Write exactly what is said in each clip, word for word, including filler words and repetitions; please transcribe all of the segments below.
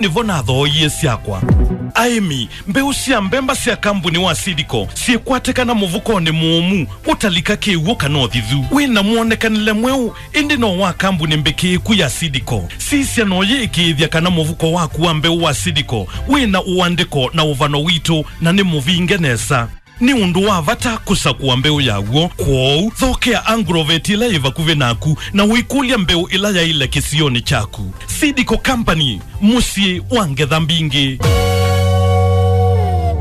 Nĩvo nathooie syakwa. Aĩmi, mbeũ sya mbemba sya kambuni wa Seedco syĩkwatĩkana mũvukonĩ mũũmu, ũtalika kĩw'ũ kana ũthithu. Wĩ na mwonekanĩle mweũ, ĩndĩ no wa kambuni mbĩkĩĩku ya Seedco. Sisya na ũyĩĩkĩĩthya kana mũvuko waku wa mbeũ wa Seedco wĩ na ũandĩko na ũvano witũ na nĩ mũvinge nesa. Nĩ ũndũ wa vata kũsakũa mbeũ yaw'o, kwoou thokea Agrovet ĩla yĩ vakuvĩ naku na ũikũlya mbeũ ĩla yaĩle kĩsionĩ kyaku. Seedco Company, mũsyĩ wa ngetha mbingĩ.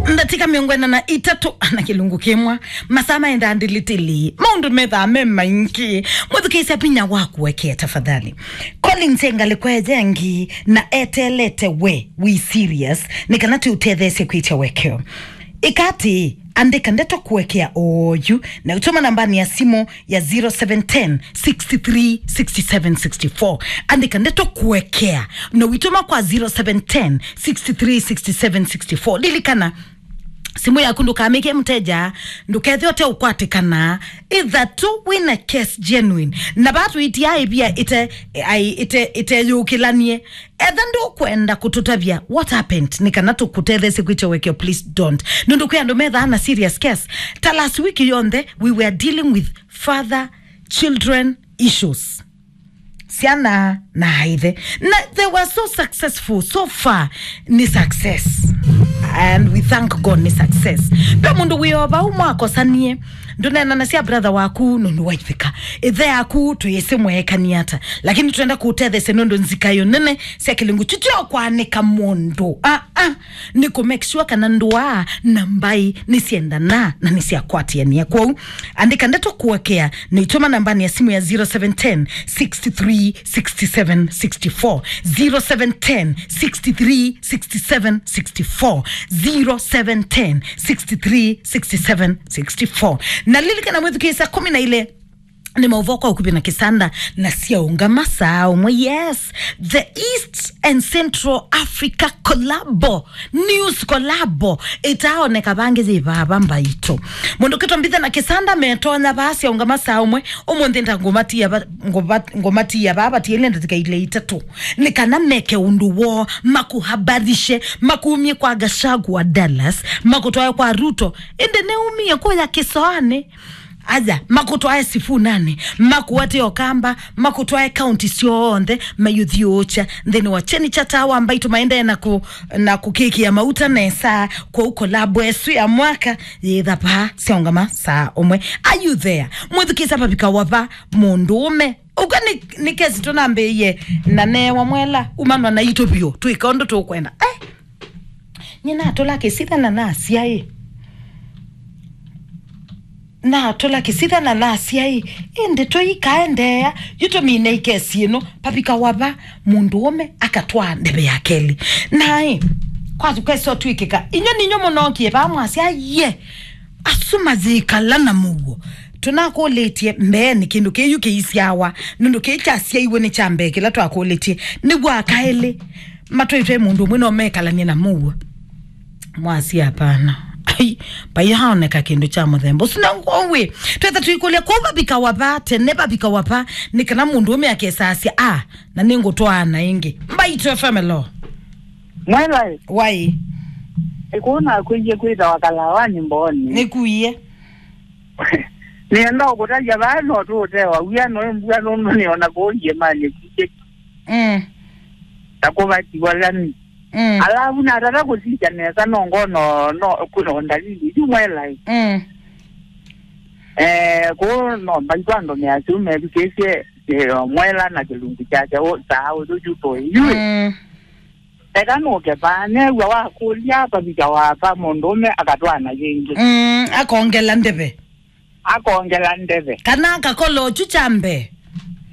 Ndatĩka mĩongo ĩna na itatũ na kĩlungu kĩmwe, masaa maendaa ndilitili, maũndũ methaa me maingĩ. Mwĩthukĩĩsya vinya wa kũekea tafadhali. Collins e ngalĩko ĩngĩ na eteelete we wĩ serious, nĩ kana tũũtetheesye kwĩtya ũekeo. Ĩka atĩĩ, andĩka ndeto kũekea oyu na ũtũma nambanĩ ya simũ ya zero seven ten, six three, six seven, six four. Andĩka ndeto kũekea na ũitũma kwa zero seven ten, six three, six seven, six four. Lilikana, simũ yaku ndũkamĩke mũteja, ndũkethĩa ũte ũkwatĩkana. Ĩtha tu wĩna case genuine. Na vaa tũitia ĩvia ĩte, ai, ĩte, ĩteyũkĩlanie. Etha ndũkwenda kũtũtavya what happened, nĩ kana tũkũtetheesye kwĩtya ũekeo, please don't. Nũndũ kwĩ andũ methaa na serious case. Ta last week yonthe, we were dealing with father children issues. Syana na aithe. Na they were so successful. So far, nĩ success. And we thank God nĩ success. Ve mũndũ wĩ o vau mwakosanie, ndũneenanasya brother waku nũndũ waithĩka. Ĩthe yaku tũyĩsĩ mweekanie ata. Lakini tũenda kũũtetheesya nũndũ nzika ĩyo nene sya kĩlungu tityo kwanĩka mũndũ. Ah, ah. Nĩ kũ make sure kana ndũa na mbaĩ nĩsyendana na nĩsyakwatĩanĩa. Kwoou, andĩka ndeto kũekea na ũitũma nambanĩ ya simũ ya zero seven ten, six three, six seven, six four. Zero seven ten, six three, six seven, six four. Zero seven ten, six three, six seven, six four. Na lilikana mwĩthukĩĩsya kũmi na ilĩ nĩ maũvoo kwa ũkuvĩ na kĩsanda na syaũngama saa ũmwe. Yes, the East and Central Africa collabo, news collabo, ĩtaaoneka vangĩ yĩ vava mbaitũ. Mũndũ kĩtwa mbithe na kĩsanda metonya vaa syaũngama saa ũmwe. Ũmũnthĩ nda ngũmatia va-, ngũva-, ngũmatia vaa vatiele ndatĩka ile itatũ, nĩ kana meke ũndũ woo, makũhabarishe, makumie kwa Gachagua Dallas, makũtwae kwa Ruto. Ĩndĩ nĩumie kũya kĩsoanĩ. Aja, makũtwae Sifunani, makũate Ũkamba, makũtwae kaunti syonthe, mayũthiũũkya nthĩnĩ wa kyeni kya taa wa mbaitũ, maendee na kũ-, na kũkĩkĩa mauta nesa. Kwoou kolabo ĩsu ya mwaka yĩtha vaa syaũngama saa ũmwe. Are you there? Mwĩthukĩĩsya vavika wava mũndũũme. Ũka nĩ, nĩ kesi tũnambĩĩie na neewa mwela umanwa naitũ vyũ, twĩka ũndũ tũkwenda. Eh! Nyie natũla kĩsitha na nasyaĩ. Natũla kĩsitha na nasyaĩ. Ĩndĩ tũikaendeea, yu tũmine ikesi ĩno, vavika wava mũndũũme akatwaa ndeve ya kelĩ. Naĩ, kwa kesa ũtw'ĩkĩka, inywe ninyo mũnookie vaa mwasya, ye, asu mayĩkala na mũuo. Tũnakũlĩtye mbeenĩ kĩndũ kĩu kĩisyawa, nũndũ kĩĩ kyasyaiwe nĩ kya mbee kĩla twakũlĩtye. Nĩw'o akaelĩ matwaĩtwe mũndũ ũmwe no mekalanie na mũuo. Mwasi, hapana. Ai, vaiaoneka kĩndũ kya mũthemba ũsu. Na ngwĩ, twetha tũikũlya kũu vavika wava, tene vavika wava, nĩ kana mũndũ ũme akesasya, a, na nĩngũtwaana ĩngĩ. Mbaitũ F M, hello. Mwela ĩ? Wai. Ĩkũũ nakwĩie kwĩthawa Kalawani Mboni. Nĩkuie. Nĩenda ũkũtavya vaa no tũũtewa wia no mbua nũndũ nĩona kũu iĩmanĩ kuie. Mm. Ta kũvatiwa lami. Mm. Alavu natata kũsisya nesa no ngono no kwĩna ndalili isu mwela ĩ. Mm. Eh, kũu no mbaitũ andũ measya methukĩĩsye, eh, mwela na kĩlungu kyake ũ-, saa ũyũ yu tũĩ yu ĩ. Mm. Eka nũke vaa, neew'a wakũlya vavika wava mũndũũme akatwaana yĩngĩ. Mm, akongela ndeve. Akongela ndeve. Kana akakola ũkyu kya mbee.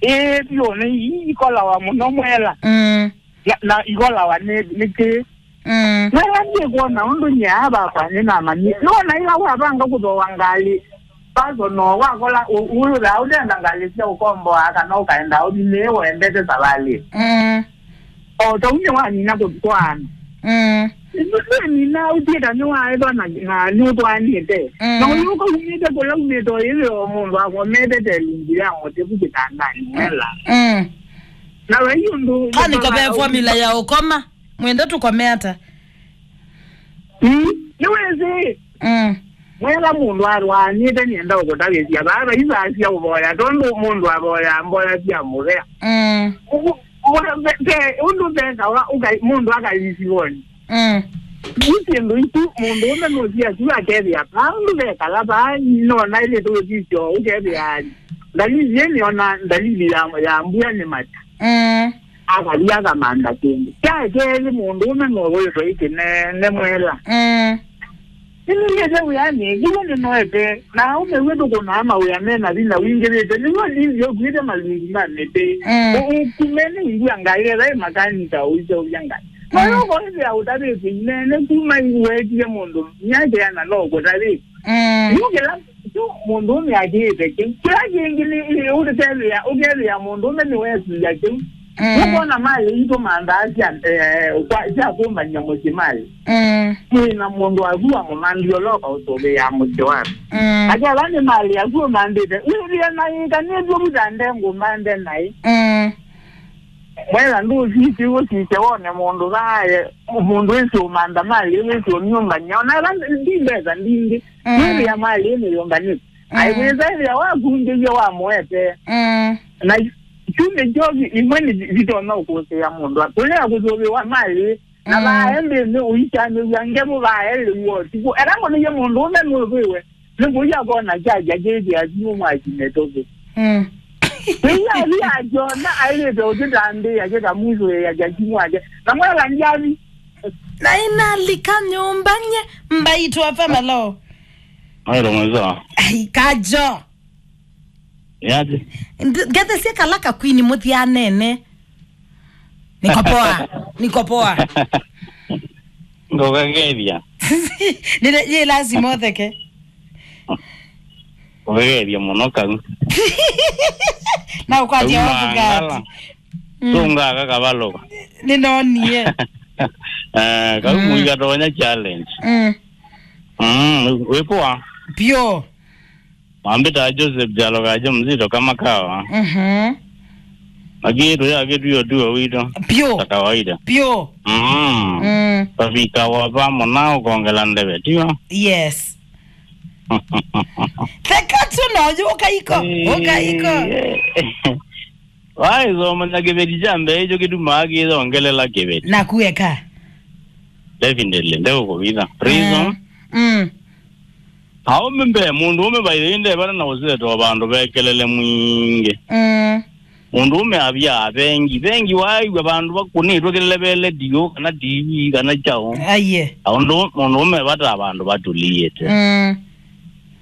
Ĩĩ, vyũ, nĩ ii ikolawa mũno mwela. Mm. Na, na ikolawa nĩ, nĩkĩ? Mm. Mwela ndikwona ũndũ nyie vakwa nĩnamanyie. Nĩwona ĩla wavanga kũthooa ngalĩ, personal, wakola ũ-, ũyũthaa ũtenda ngalĩ sya ũkomboa kana ũkaenda ũthi nĩĩ wendete savalĩ. Mm. O ta ũu nĩwanina kũtwaana. Mm. Nĩwanina ũthiĩta nĩwaethwa na, na nĩũtwaanĩte. Mm. Na ũyũka umĩte kũla umĩte o ĩthĩ o mũndũ akomete te lungu ya mũtĩ vu kĩtandanĩ mwela. Mm. Na wai ũndũ kana ĩko ve formula ya ũkoma. Mwenda tũkome ata? Mm, nĩwĩsĩ. Mm. Mwela mũndũ arwaanĩte nĩenda ũkũtavĩsya vaa vaisasya ũvoya, tondũ mũndũ avoyaa mboya sya mũvea. Mm. Ũ-, ũ-, ve-, ve-, ũndũ vekawa ũka-, mũndũ akalisiwoni. Mm. Nĩ syĩndũ isu, mũndũ ũme nũthi asu akethĩa vaa ũndũ vekala vaa, nona ĩlĩte ũsisyo, ũkethĩa ndalili ĩnĩ ona ndalili ya, ya mbua nĩ mata. Mm. Akathi akamantha kĩndũ. Kya kelĩ, mũndũ ũme nũvũĩtwe ĩ kĩnene mwela. Mm. Nĩnĩnĩte wĩanĩ, ĩla nĩnoete, na aũme witũ kũnaa mawĩa me na vinya wingĩvĩte, nĩw'o ndinzi ũkuĩte malungu ma mĩtĩ. Mm. Ũ-, ũkume nĩ ngua ngai, etha ĩ makanika ũiseũvya ngai. Mm. Noyo ũkoĩthĩa ũtavĩtye inene kuma iwetie mũndũ, nyakeana no ũkũtavĩtye. Mm. Yu kĩla kyu mũndũũme akĩĩte kĩu. Kĩla kĩngĩ nĩ, nĩ ũkethĩa, ũkethĩa mũndũũme nĩwesũĩa kĩu. Mm. Nũkwona malĩ itũ mandaasya, eh, kwa, sya kũmbany'a mũsyĩ malĩ. Mm. Mwĩ na mũndũ waku wa mũmandi ũla ũkaũsũvĩaa mũsyĩ waku. Mm. Akethĩa nĩ malĩ aku ũmandĩte. Wĩthĩe na ĩkanĩtw'e vutande ngũmande naĩ. Mm. Mwela ndũsisye ũsisye wone mũndũ vaaye, mũndũ wĩsĩ ũmantha malĩ, wĩsĩ ũnyũmbany'a. Ona ĩla ndi mbesa mbingĩ. Mm. Nĩthĩa malĩ nĩyũmbanĩtye. Mm. Aiwĩsa ĩthĩa wakungĩie wamũete. Mm. Na kyu nĩkyo vi-, imwe nĩ vi-, vitonya ũkũsĩa mũndũ. Kũlea kũsũvĩwa malĩ, na, mm, vae nthĩnĩ ũikanĩw'a ngevu vae lĩu ũtukũ. Ela mũnĩie mũndũ ũme nũvĩwe, nĩkũia kona kyakya kĩthĩa simũ mwaki mĩtũkĩ. Mm. Ĩu athi akyona aĩlĩte ũtĩtambĩĩa kĩkamwĩsũĩa kya simũ wake. Na mwela ndyathi. Na inalika nyũmba nye mbaitũ afa malo. Mailo mweza. Ai, kajo. Yaje. Ngethesie kala kakwini mũthyanene. Niko poa. Niko poa. Ngokagethia. Nile ye lazima ũtheke. Ngokagethia mũno kau. Na ũkwatia wabu ngati. Mm. Tungaga kavaloka. Ninonie. Eh, kau, mm, mũiga tonya challenge. Mm. Mm, wĩ poa. Pio. Mambĩtaa Joseph Jalo Kaja Mzito kama kawa. Mhm. Lakini tuya kitu hiyo tu wito. Pio. Za kawaida. Pio. Mm. Mm. Tavika wa vamo na ũkongela ndeve, tiwa? Yes. Theka tu no, ũkaiko, ũkaiko. Eh, eh. Waisomanya kĩveti kya mbee, ĩkyo kĩtumaa kĩyongelela kĩveti. Na kueka. Definitely, ndeũkũvitha. Reason? Mm. Mm. Aũme mbee, mũndũ ũme by the way, ndevana na ũseto vandũ vekelele mwingĩ. Mm. Mũndũ ũme avya vengi. Vengi waaĩw'a vandũ vakũnĩtwe kelele ve ledio, kana T V, kana kyaũ. Aiye. Aũndũ mũndũ ũme vata vandũ vatũlĩĩte. Mm.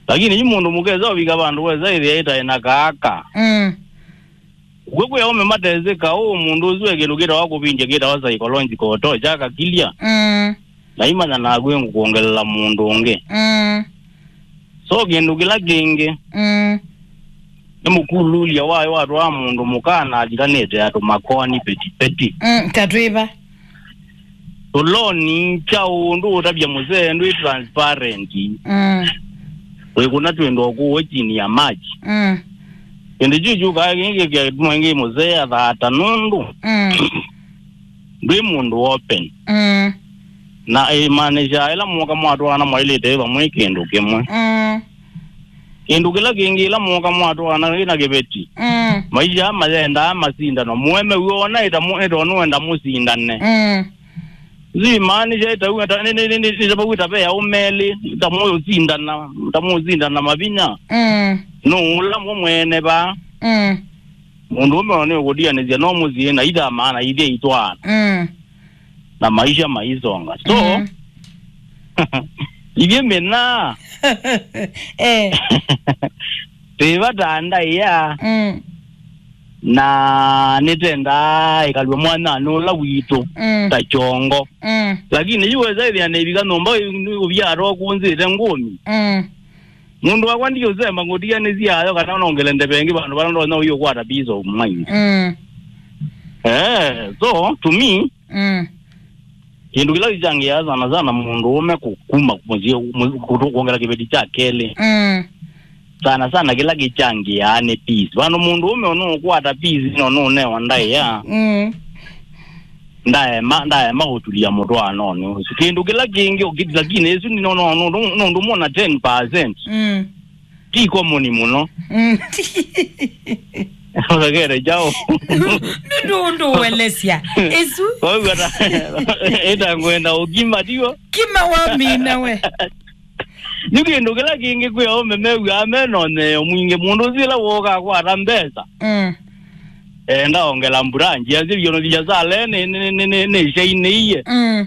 Lakini yu mũndũ mũkesa ũvika vandũ wesa ĩthĩa ĩtaĩ na kaaka. Mm. Kwĩ, kwĩ aũme matesĩ kaũ, mũndũ ũsu e kĩndũ kĩtawa kũvindya, kĩtawa psychological torture, akakilya. Mm. Na imanya naku ĩngũkwongelela mũndũ ũngĩ. Mm. So kĩndũ kĩla kĩngĩ, mm, nĩ mũkululya wayo watwaa mũndũ mũka na athikanĩte andũ makoani petipeti. Mm, ta twĩva. Tũloni kya ũndũ ũtavya mũsee ndwĩ transparent. Mm. Wĩkũna twĩndũ kũũ chini ya maji. Mm. Kĩndũ kyu kyũkaa kĩngĩ kĩatuma ĩngĩ mũsee athaata nũndũ, mm, ndwĩ mũndũ open. Mm. Na ĩmaanisha ĩla mwoka mwatwaana mwaĩlĩte wĩ vamwe kĩndũ kĩmwe. Mm. Kĩndũ kĩla kĩngĩ, ĩla mwoka mwatwaana wĩ na kĩveti, mm, maisha aa mayendaa masindano. Mũeme wĩona ĩta mũ-, ĩta nũenda mũsindane. Mm. Zimaanisha ĩta wĩ ta, nĩ, nĩ, nĩ, nĩ, nĩ, nĩ, vau ĩta ve aũme elĩ, ta mũũsindana, ta mũũsindana mavinya. Mm. Nũũ ũla mũ mwene vaa? Mm. Mũndũ ũme nĩ ũkũtianĩsya no mũsyĩ na itha maana ithyĩ itwaana. Mm. Na maisha maisonga. So, mm, ithyĩ mĩna eh, twĩ vata ndaĩa, mm, na nĩtendaa ĩkalw'e mwanyanĩ ũla witũ, mm, ta kyongo. Mm. Lakini yu wesa ĩthĩa nĩvika nyũmba ũvya atokunzĩte ngũmi. Mm. Mũndũ wakwa ndiũsemba ngũtianĩsya ayo kana nongele ndeve ĩngĩ vandũ vala ndonya ũi ũkwata peace of mind. Mm. Eh, so, to me, mm, kĩndũ kĩla kĩchangĩaa sana sana mũndũ ũme kũ-, kuma mũsyĩ, mũ-, kũtũ-, kwongela kĩveti kya kelĩ. Mm. Sana sana kĩla kĩchangĩaa nĩ peace. Vandũ mũndũ ũme ũnũũkwata peace no nũũnewa ndaĩa. Mm. Ndaema, ndaema ũtulia mũtwaanonĩ ũsu. Kĩndũ kĩla kĩngĩ ũkĩti, lakini ĩsu nĩ no, no, no, no, nũndũ mwona ten percent. Mm. Ti common mũno. Mm. Ũthekere kyaũ? Nũndũ ũndũ ũelesya. Ĩsu. Kwa hiyo hata, ĩta ngwenda ũkima, tigo? Kima wamina we. Nĩ kĩndũ kĩla kĩngĩ kwĩ aũme mew'aa me na ũnyeo mwingĩ. Mũndũ ũsu ĩla wooka akwata mbesa. Mm. Enda ongela mbranji. Asili yono vya sale nĩ, nĩ, nĩ, nĩ, nĩ shainĩie. Mm.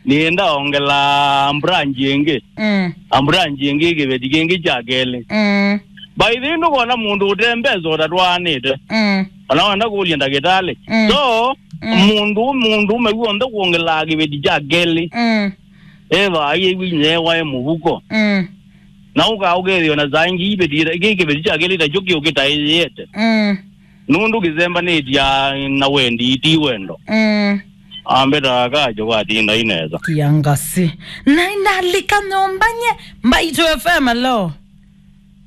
Nĩenda ongela mbranji ĩngĩ. Mm. A mbranji ĩngĩ kĩveti kĩngĩ kya kelĩ. Mm. By the way, ndũkona mũndũ ũte mbesa ũtatwaanĩte. Mm. Ona wenda kũlya ndagĩtalĩ. Mm. So, mm, mũndũ, mũndũ ũme w'onthe kwongelaa kĩveti kya kelĩ. Mm. Eva aiw'a inyia waĩ mũvuko. Mm. Na ũka ũkethĩwa na saa ingĩ iveti, kĩ kĩveti kya kelĩ takyo kĩũkĩtaĩyĩte. Mm. Nũndũ kĩsembanĩtya na wendi, ti wendo. Mm. Ambeta kajo kwatinda inesa. Kiangasi. Na inalika nyũmba nye. Mbaitũ F M, hello.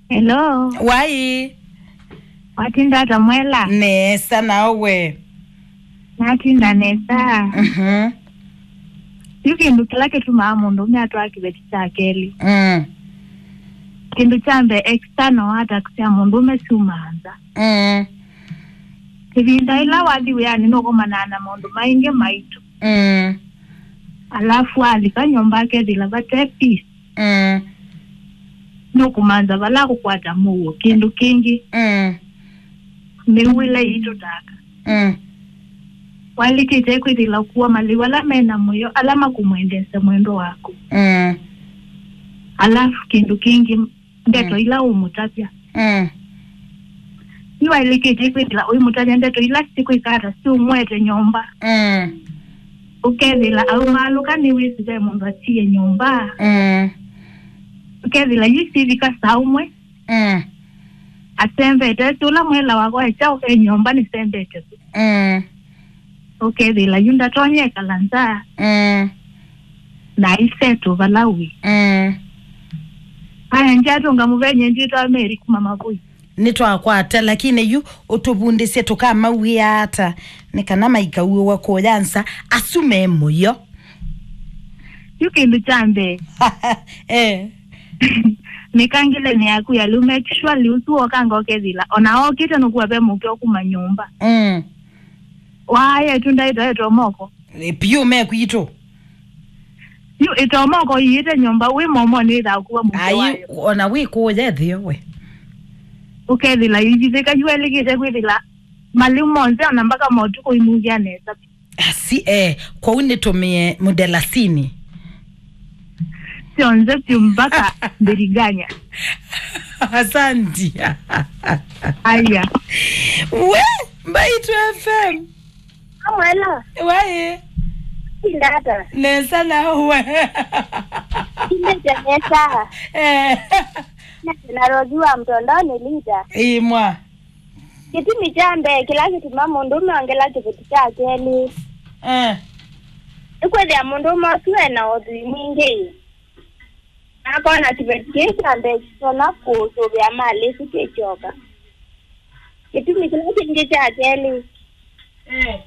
Hello. Wai. Watinda ata Mwela? Nesa, nawe? Natinda nesa. Mhm. Yu kĩndũ kĩla kĩtumaa mũndũũme atwaa kĩveti kya kelĩ. Mm. Kĩndũ kya mbee, external attacks sya mũndũũme syumaa nza. Mm. Ĩvinda ĩla wathi wĩanĩ nũkomanaa na maũndũ maingĩ maitũ. Mm. Alafu alika nyũmba akethĩla vate peace. Mm. Nũkũmantha vala kũkwata mũuo. Kĩndũ kĩngĩ, mm, mĩw'ĩle yitũ taka. Mm. Waĩlĩkĩte kwĩthĩla kũkua malĩu ala me na mũyo, ala makũmwendeesya mwendwa waku. Mm. Alafu kĩndũ kĩngĩ, ndeto, mm, ila ũmũtavya. Mm. Nĩwaĩlĩkĩte kwĩthĩla ũimũtavya ndeto ila sikwĩka ata siũmwete nyũmba. Mm. Ũkethĩla aumaalũka nĩwĩsĩ ve mũndũ atie nyũmba. Mm. Ũkethĩla yu sivika saa ũmwe. Mm. Asembete, esi ũla Mwela wakwa e kyaũ e nyũmba nĩsembete. Mm. Ũkethĩla yu ndatonya ekala nza. Mm. Na iseto vala wĩ. Mm. Aya, ndyatũnga mũvenye nditwa Mary kuma Mavũi. Nĩtwakwata, lakini yu ũtũvundĩsye tũkamawĩa ata, nĩ kana maikauĩwa kũya nza, asu me mũyo. Yu kĩndũ kya mbee. Eh. Mĩkangĩlenĩ yaku ya lĩu, make sure lĩu ũsu wokanga ũkethĩla. Ona okĩte nũkua ve mũkeo kuma nyũmba. Mm. Waaya ĩtunda ĩtoetwe moko. E, piũ me kwitũ. Yu ĩtomoko iĩte nyũmba, wĩ momo nĩthaa kuwa mũtwe. Ai, wayo. Ona wĩ kũũya ĩthĩo we. Ũkethĩla ivithĩka yu elĩkĩte kwĩthĩla malĩu monthe ona mbaka motukũ imuvya nesa. Asi, eh, kwoou nĩtũmĩe mũdelasini. Syonthe piũ mpaka mbiriganya. Asanti. Aya. We, Mbaitũ F M. Mwela. Wai. Ndata. Nesa nawe. Ndete nesa. Eh. Na Rozi wa mtondoni lita. Imwa. Kĩtumi kya mbee kĩla kĩtuma mũndũũme ongela kĩveti kya kelĩ. Eh. Nĩkwĩthĩa mũndũũme ũsu e na ũthwii mwingĩ. Na akona kĩveti kĩĩ kya mbee kĩtonya kũsũvĩa malĩ ĩsu kĩkyoka. Kĩtumi kĩla kĩngĩ kya kelĩ, eh,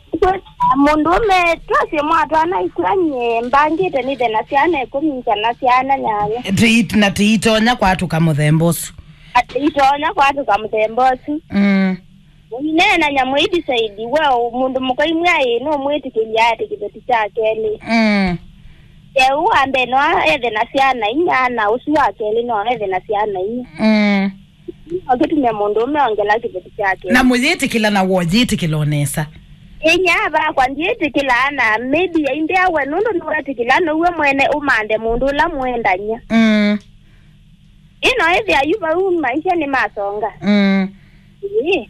mũndũũme twasye mwatwaana ikw'a nyie mbangĩte nĩthe na syana ĩkũmi nza na syana nyanya. Tĩit-, na tĩitonya kwatũka mũthemba ũsu. Atĩ itonya kwatũka mũthemba ũsu. Mm. Ũineenany'a mwĩdisaidi we mũndũ mũka imwe aĩ nũmwĩtĩkĩlya atĩ kĩveti kya kelĩ. Mm. Yeũ wa mbee no ethe na syana inya, na ũsu wa kelĩ no ethe na syana inya. Mm. No kĩtume mũndũũme ongela kĩveti kyake. Na mũyĩtĩkĩla na woyĩtĩkĩla o nesa. Inya vakwa ndyĩtĩkĩlaa na maybe aindea we nũndũ nĩwetĩkĩla nĩwe mwene ũmanthe mũndũ ũla mũendany'a. Mm. Ĩno ĩthĩa yu vau maisha nĩ masonga. Mm. Ĩĩ.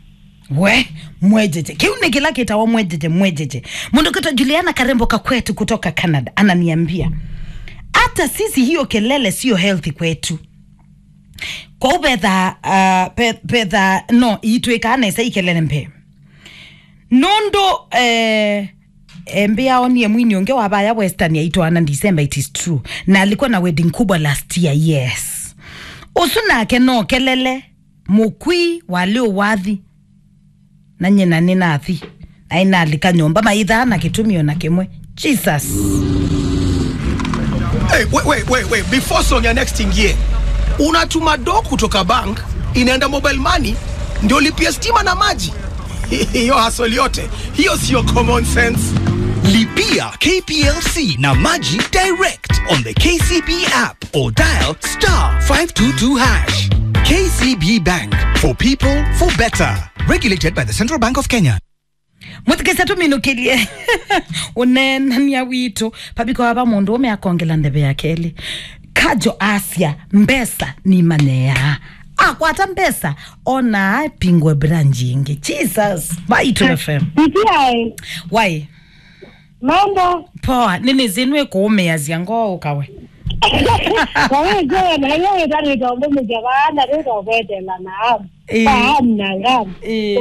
We, mwejeje. Kĩu nĩ kĩla kĩtawa mwejeje, mwejeje. Mũndũ kwĩtwa Juliana Karembo Kakwetu kutoka Canada ananiambia, hata sisi hiyo kelele sio healthy kwetu. Kwoou vetha, uh, pe-, vetha no itwĩkaa nesa ikelele mbee. Nũndũ, eh, eh, mbĩa onie mwini ũngĩ wa vaya Western aitwaana December, it is true. Na alikuwa na wedding kubwa last year, yes. Ũsu nake no kelele, mũkwi, walĩ ũwathi. Na nyina nĩ nathi. Na inalika nyũmba maithaa na kĩtumi ona kĩmwe. Jesus. Hey, wait, wait, wait, wait. Before song ya next ingie, unatuma do kutoka bank inaenda mobile money ndio lipia stima na maji. Hiyo hasoli yote hiyo sio common sense. Lipia K P L C na maji direct on the K C B app or dial star five two two hash. K C B Bank, for people, for better. Regulated by the Central Bank of Kenya. Mũthikĩsya tũminũkĩlye ũneenany'a witũ. Pavika wava mũndũ ũme akongela ndeve ya kelĩ. Kajo asya, mbesa nimanyeaa. Akwata mbesa, ona apingwe branch ingĩ. Jesus. Vai Tũ F M. Nitiae. Wai. Mambo. Poa, nĩnĩsĩ nĩwĩkũũmĩasya ngoo ũkawe. Kwa hiyo, na hiyo itanitombomesha baada ndio kwetela na hamu. Eh. Hamu na ngamu. Eh.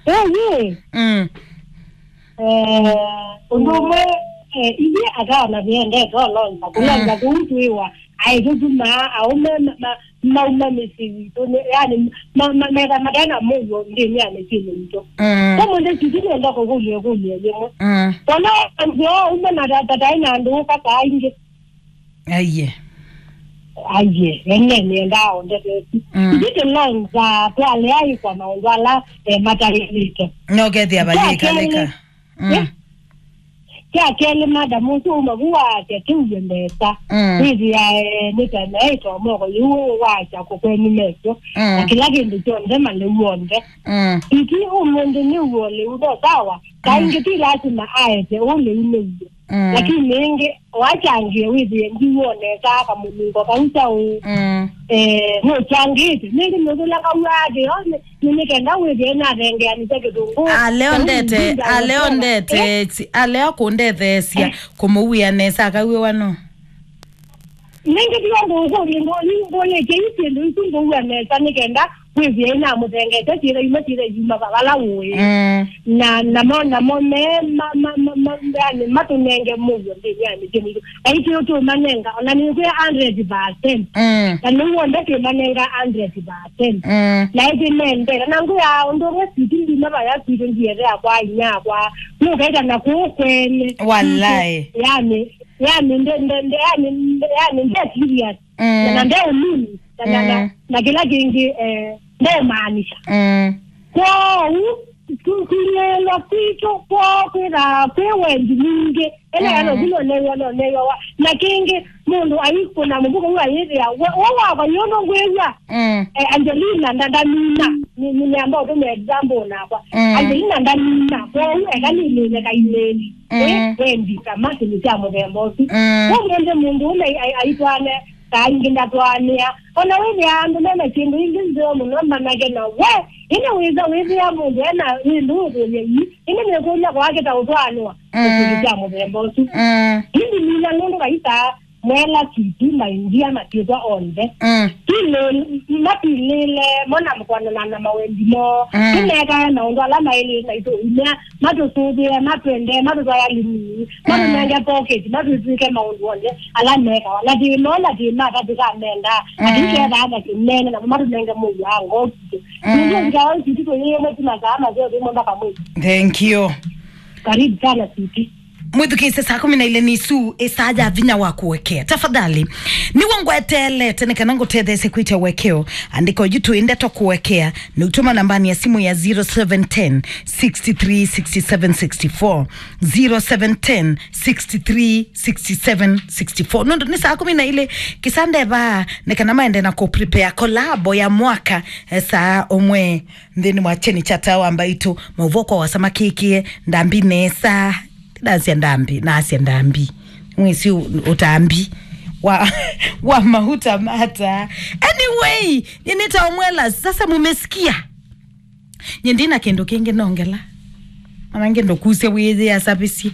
Ĩĩ. Mm. Eh, ũndũ ũmwe, eh, ithyĩ atana viendete olonza kũlonza kũu twĩwa aĩtũtuma aũme ma- ma- mauma mĩsyĩ yitũ, yani ma- ma- metha matena mũuo nthĩnĩ ya mĩsyĩnĩ yitũ. Mm. Kwa mũndũ sisi nenda kũkũlya ĩkũlyo yĩmwe. Mm. Kana nzĩa ũme na tata taĩ na andũ ũka saa ingĩ. Aiye. Aiye, ene nĩendaa ũndetesi. Mm. Ithyĩ tũlonza twalea ĩkwa maũndũ ala eh, mataĩlĩte. Nokethĩa vayĩkalĩka. Mm. Kya kelĩ, madam ũsu uma vu waasya tĩuye mbesa. Mm. Wĩthĩae nĩtanaĩtwa moko yĩu waasya kũkweni mesyo. Mm. Na kĩla kĩndũ kyonthe malĩu onthe. Mm. Iti ũmũnthĩ nĩ uo lĩu no sawa. Kaingĩ ti lasima aete ũlĩu nĩ uo. Mm. Lakini ĩngĩ, wachangie wĩthĩe ndiwonesa kamũnungo kau kyaũ. Mm. Eh, nũchangĩte. Nĩngĩ nũthũla kauaa thĩ yone, nĩ nĩ kenda wĩthĩe nathengeanĩte kĩtũngũ. Aleo ndete, aleo ndete, aleo kũndetheesya kũmũwĩa nesa akaw'ĩwa no. Nĩngĩ tiga ndũkũlye, ndũlĩkye ii syĩndũ isu ngũw'a nesa nĩ kenda wĩthĩe inamũthengete syĩtha imwe syĩtha iuma vala ũĩ. Mm. Na namo namo me ma- ma- ma- ma- yani matũnenge mũuo nthĩnĩ ya mĩsyĩ mitũ. Na itũ tũmanenga ona nĩkwĩa hundred percent. Mm. Na nĩu onthe twĩmanenga hundred percent. Mm. Na ĩtĩ mendete na ngwĩa ũndũ ũmwe siti ndima vaya kwitũ ndiethea kwa inyakwa nũkaita na kũũ kwene. Walai. Yani yani nde nde nde yani nde yani nde serious. Mm. Na nde ũnini na na na- Mm. na kĩla kĩngĩ eh, nde maanisha. Mm. Kwoou ku- kũnyelwa kwitũ kwoo kwĩthaa kwĩ wendi mwingĩ ĩla Mm. yano vino new'a no new'a wa na kĩngĩ mũndũ aikũna mũvuko ũu ayĩthĩa we we wakwa yũndũ ngwĩw'a. Mm. Eh, Angelina nda- ndamina. Nĩ- nĩ- nĩamba ũtũmĩa example nakwa. Mm. Angelina ndamina kwoou eka nĩmĩne kaimĩli. Mm. Eh, wendi kama kĩndũ kya mũthemba ũsu. Mm. Ũmũnthĩ mũndũ ũme ai- aitwane kaingĩ ndatwaanĩa. Ona wĩthĩa andũ mena syĩndũ ingĩ nzeo mũno manage na we ĩndĩ wĩsa wĩthĩa mũndũ ena ĩndũ ũthũlya ii ĩndĩ nĩkũlya kwake ta ũtwaanĩwa. Mm. Kĩndũ kya mũthemba ũsu. Mm. Ĩndĩ mina nũndũ kaisaa mwela siti maindia masyĩtwa onthe. Mm. Tilĩ- matilĩle mona mkwanana na mawendi moo. Mm. Tũmekae maũndũ ala maĩlĩte itũumya matũsũvĩe, matwende, matũtwae alimii, matũnenge pocket, matwĩtw'ĩke maũndũ onthe ala mekawa. Na thĩna ũla thĩna ata tũkamenda, na tũikethaa na kĩnene, na matũnenge mũuo wa ngoo kitũ. Nĩngĩ ũkitawa ũsiti tũyĩĩmwe ti masaa maseo thĩmwe mpaka mwĩĩ. Thank you. Karibu sana, sweetie. Mwĩthukĩĩsye saa kũmi na ilĩ nĩ isu ĩsaa ya vinya wa kũekea. Tafadhali, nĩw'o ngweteelete nĩ kana ngũtetheesye kwĩtya ũekeo. Andĩka ũyu tũĩ ndeto kũekea. Nĩ ũtũma nambani ya simu ya zero seven ten, six three, six seven, six four. Zero seven ten, six three, six seven, six four. Nũndũ nĩ saa kũmi na ilĩ, kĩsa ndeva nĩ kana maende na kũ prepare kolabo ya mwaka, eh, saa ũmwe nthĩnĩ wa kyeni kya taa wa mbaitũ. Maũvoo kwa wasa makĩkĩe ndambi nesa. Ndasya ndambi, nasya ndambi. Mwĩsĩ ũ- ũtambi wa, wa mauta mata. Anyway, nĩnĩtaomwela sasa, mumesikia? Nye ndina kĩndũ kĩngĩ nongela. Mana ngendo kusya wĩyĩasavĩsye.